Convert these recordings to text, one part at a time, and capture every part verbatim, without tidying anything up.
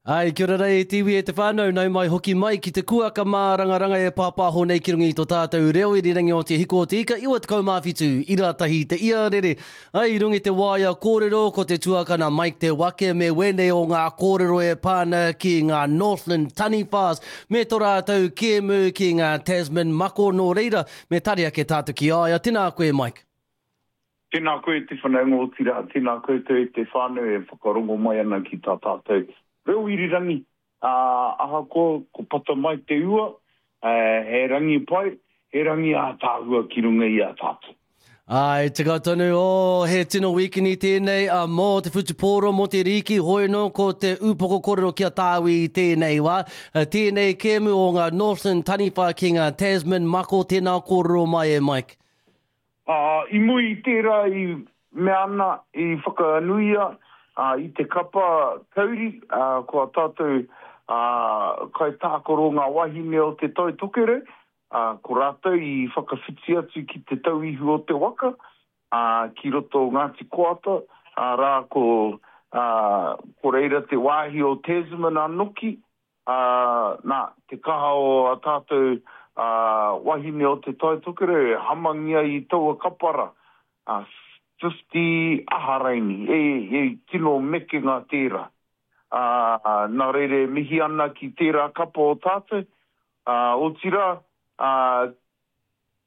Ai, kia ora rei e te iwi e te whānau, nau mai hoki mai ki te kuaka mārangaranga e pāpāho nei ki runga i tō tātou reo irirangi o te hiko o te ika iwa tekau mā whitu, ira tahi te ia rere. Ai, i runga i te waea kōrero ko te tuakana Mike Te Wake me wēnei o ngā kōrero e pā ana ki ngā Northland Taniwhas me tō rātou kēmu ki ngā Tasman Mako nō reira, me tari ake tātou ki a ia. Tēnā koe Mike. Tēnā koe te whanaunga otirā, tēnā koutou e te whānau e whakarongo mai ana ki tā tātou reo irirangi, ā, ahakoa ko pata mai te ua, he rangi pai, he rangi ātaahua ki runga i a tātou. Āe, tika tonu, oh, he tino wīkini tēnei a mō te whutupōro, mō te rīki, hoi nō ko te ūpoko kōrero ki a tāui i tēnei wā. Tēnei kēmu o ngā Northland Taniwha ki ngā Tasman Mako, tēnā kōrero mai e Mike. Ā, i muri i tērā i mea ana, i whakanuia ā, i te kapa kauri, ā, ko ā tātou ā, kaitākaro ngā wāhine o Te Tai Tokerau, ā, ko rātou i whakawhiti atu ki Te Tauihu o te Waka, ā, ki roto o Ngāti Koata, arā, ko, ā, ko reira te wāhi o Tasman anoki, ā, nā, te kaha o ā tātou, ā, wāhine o Te Tai Tokerau e hamangia i taua kapa rā, ā, fifty aha raini, e, e tino mekenga tērā. Ā, nā reira e mihi ana ki tērā kapa o tātou, ā, otirā, ā,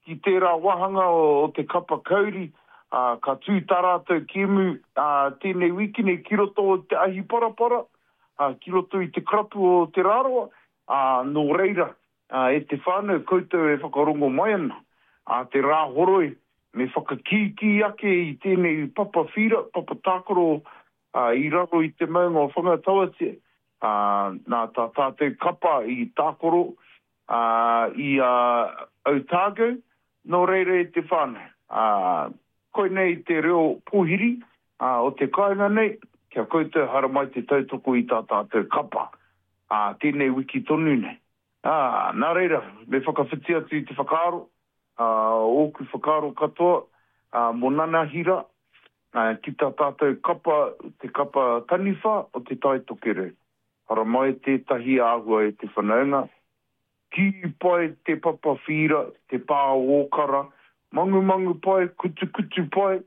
ki tērā wāhanga o, o te kapa kauri, ā, ka tū tā rātou kēmu, ā, tēnei wiki nei ki roto o te ahi parapara, ā, ki roto i te karapu o Te Rarawa, ā, nō reira, ā, e te whānau koutou e whakarongo mai ana, ā, te Rāhoroi, me whakakīkī ake i tēnei papa whira, papa tākaro i raro i te maunga o Whangatauatia, nā tā tātou kapa i tākaro i a Otago, nō reira e te whānau. Koinei te reo pōhiri o te kāinga nei, kia koutou haramai te tautoko i tā tātou kapa, tēnei wiki tonu nei. Nā reira, me whakawhiti atu i te whakaaro, ā, ōku whakaaro katoa, ā, mō nanahira, ā, ki tā tātou kapa, te kapa taniwha o Te Tai Tokerau. Haramai tētahi āhua e te whanaunga, kī pai te papa whīra, te pā o Ōkara, mangumangu pai, kutukutu pai,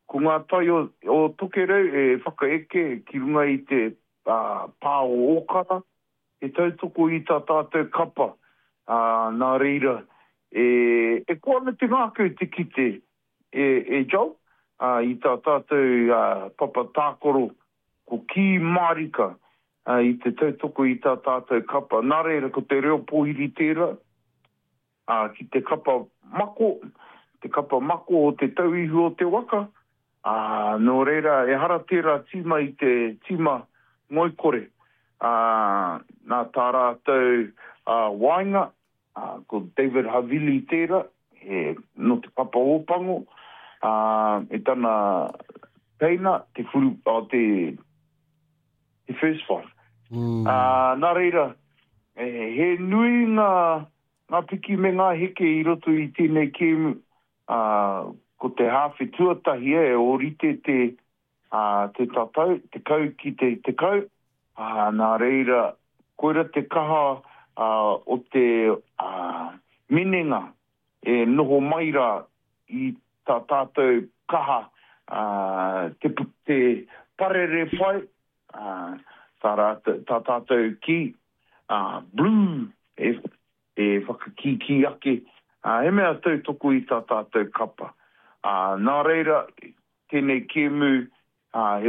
ko ngā tai o, o Tokerau e whakaeke ki runga i te, ā, pā o Ōkara, he tautoko i tā tātou kapa, ā, nā reira, e, e koa ana te ngākau te kite, e, e Joel, ā, i tā tātou, ā, papa tākaro, ko kī mārika, ā, i te tautoko i tā tātou kapa. Nā reira, ko te reo pōhiri tērā, ā, ki te kapa mako, te kapa mako o te tauihu o te waka, ā, nō reira, ehara tērā tīma i te tīma ngoikore, ā, nā tā rātou, ā, waenga, ā, ko David Havili tērā, he, nō te Papa Ōpango, ā, me tana teina, te whuru, o, te, te first five. Mm. Ā, nā reira, e, he nui ngā, ngā piki me ngā heke i roto i tēnei kēmu, ā, ko te hāwhe tuatahi e ōrite te, ā, te tatau, tekau ki te tekau, ā, nā reira, koira te kaha ā, o te ā, minenga e noho mai rā i tā tātou kaha ā, te, te parere pai, ā, tā, rātou, tā tātou kī, ā, blue, e, e whakakīkī ake, ā, he mea tautoko i tā tātou kapa. Ā, nā reira, tēnei kēmu, ā, he